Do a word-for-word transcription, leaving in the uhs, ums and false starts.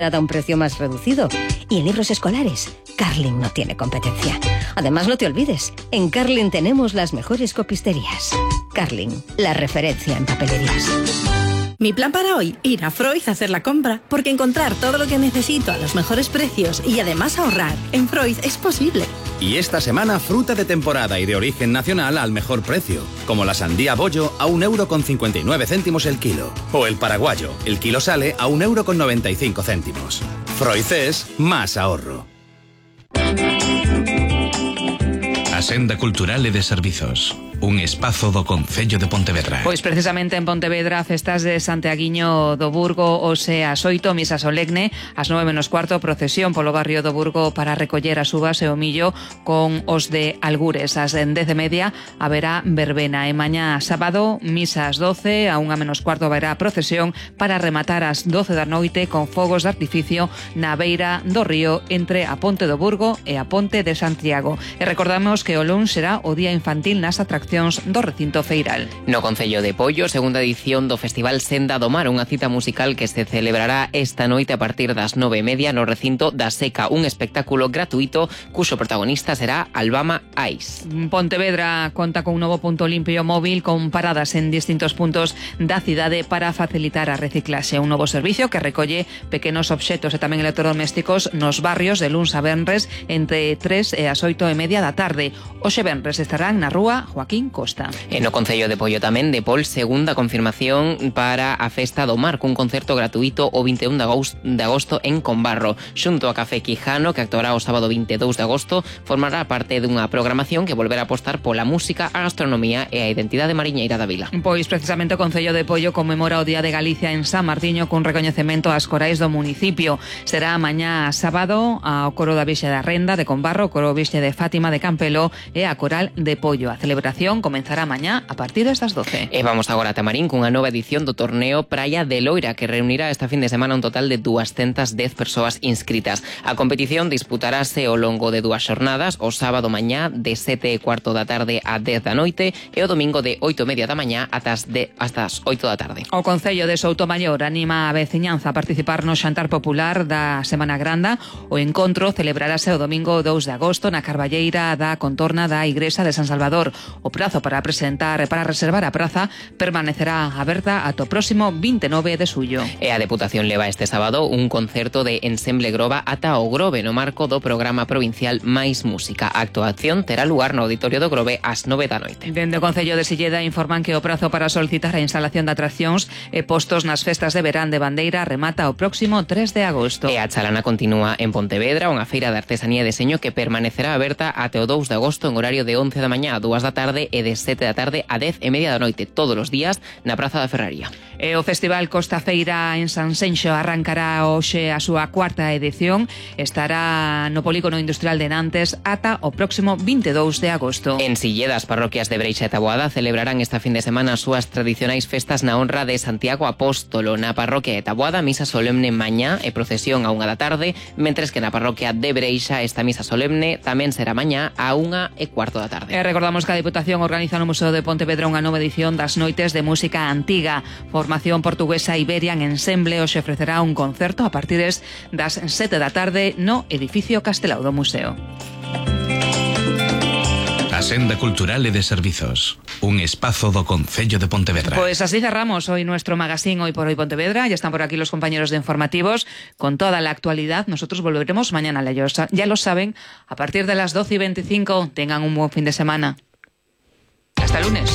a un precio más reducido. Y en libros escolares, Carling no tiene competencia. Además, no te olvides, en Carling tenemos las mejores copisterías. Carling, la referencia en papelerías. Mi plan para hoy, ir a Freud a hacer la compra, porque encontrar todo lo que necesito a los mejores precios y además ahorrar en Freud es posible. Y esta semana, fruta de temporada y de origen nacional al mejor precio, como la sandía bollo a un euro con cincuenta y nueve céntimos el kilo, o el paraguayo, el kilo sale a un euro con noventa y cinco céntimos. Freud es más ahorro. A Senda Cultural e de Servizos, un espazo do Concello de Pontevedra. Pois precisamente en Pontevedra, festas de Santiaguiño do Burgo, hoxe ás oito, misa solemne, ás nove menos cuarto, procesión polo barrio do Burgo para recoller as uvas e o millo con os de Algures. Ás dez e media haberá verbena e mañá sábado, misa ás doce, a unha menos cuarto haberá procesión para rematar ás doce da noite con fogos de artificio na beira do río entre a Ponte do Burgo e a Ponte de Santiago. E recordamos que o luns será o día infantil nas atraccións do recinto feiral. No Concello de Pollo, segunda edición do Festival Senda do Mar, unha cita musical que se celebrará esta noite a partir das nove e media no recinto da Seca, un espectáculo gratuito cuxo protagonista será Albama Ice. Pontevedra conta con un novo punto limpio móvil con paradas en distintos puntos da cidade para facilitar a reciclaxe, un novo servicio que recolle pequenos obxetos e tamén electrodomésticos nos barrios de luns a venres entre tres e as oito e media da tarde. Hoxe venres estarán na rúa Joaquín Costa. E no Concello de Pollo tamén, de Pol, segunda confirmación para a Festa do Mar, cun concerto gratuito o vinte e un de agosto en Combarro. Xunto a Café Quijano, que actuará o sábado vinte e dous de agosto, formará parte dunha programación que volverá a apostar pola música, a gastronomía e a identidade mariñeira da vila. Pois precisamente o Concello de Pollo conmemora o Día de Galicia en San Martiño cun recoñecemento ás corais do municipio. Será mañá sábado ao coro da Vixe da Renda de Combarro, o coro Vixe de Fátima de Campelo e a coral de Pollo. A celebración comenzará mañá a partir das doce. E vamos agora a Tamarín cunha nova edición do torneo Praia de Loira, que reunirá esta fin de semana un total de doscientas dez persoas inscritas. A competición disputarase ao longo de dúas xornadas, o sábado mañá de sete e cuarto da tarde a dez da noite e o domingo de oito e media da mañá ata as, de, hasta as oito da tarde. O Concello de Soutomaior anima a veciñanza a participar no xantar popular da Semana Granda. O encontro celebrarase o domingo dous de agosto na Carballeira da contorna da Igrexa de San Salvador. O prazo para presentar para reservar a praza permanecerá aberta ata o próximo vinte e nove de xullo. E a Deputación leva este sábado un concerto de Ensemble Groba ata o Grove no marco do programa provincial Mais Música. A actuación terá lugar no Auditorio do Grove ás nove da noite. Dende o Concello de Silleda informan que o prazo para solicitar a instalación de atraccións e postos nas festas de verán de Bandeira remata o próximo tres de agosto. E a Chalana continúa en Pontevedra, unha feira de artesanía e deseño que permanecerá aberta ate o dous de agosto en horario de once da mañá a dúas da tarde e de sete da tarde a dez e media da noite todos os días na Praza da Ferraría. E o Festival Costa Feira en Sanxenxo arrancará hoxe a súa cuarta edición. Estará no Polígono Industrial de Nantes ata o próximo vinte e dous de agosto. En Silleda, as parroquias de Breixa e Taboada celebrarán esta fin de semana as súas tradicionais festas na honra de Santiago Apóstolo. Na parroquia de Taboada, misa solemne mañá e procesión a unha da tarde, mentres que na parroquia de Breixa esta misa solemne tamén será mañá a unha e cuarto da tarde. E recordamos que a Deputación organiza no Museo de Pontevedra unha nova edición das Noites de Música Antiga. Formación portuguesa Iberian Ensemble hoxe ofrecerá un concerto a partir das sete da tarde no edificio Castelao do Museo. A Senda Cultural e de Servizos, un espazo do Concello de Pontevedra. Pues así cerramos hoy nuestro magazine Hoy por Hoy Pontevedra. Ya están por aquí los compañeros de informativos con toda la actualidad. Nosotros volveremos mañana a La Llosa. Ya lo saben, a partir de las doce y veinticinco. Tengan un buen fin de semana. Hasta el lunes.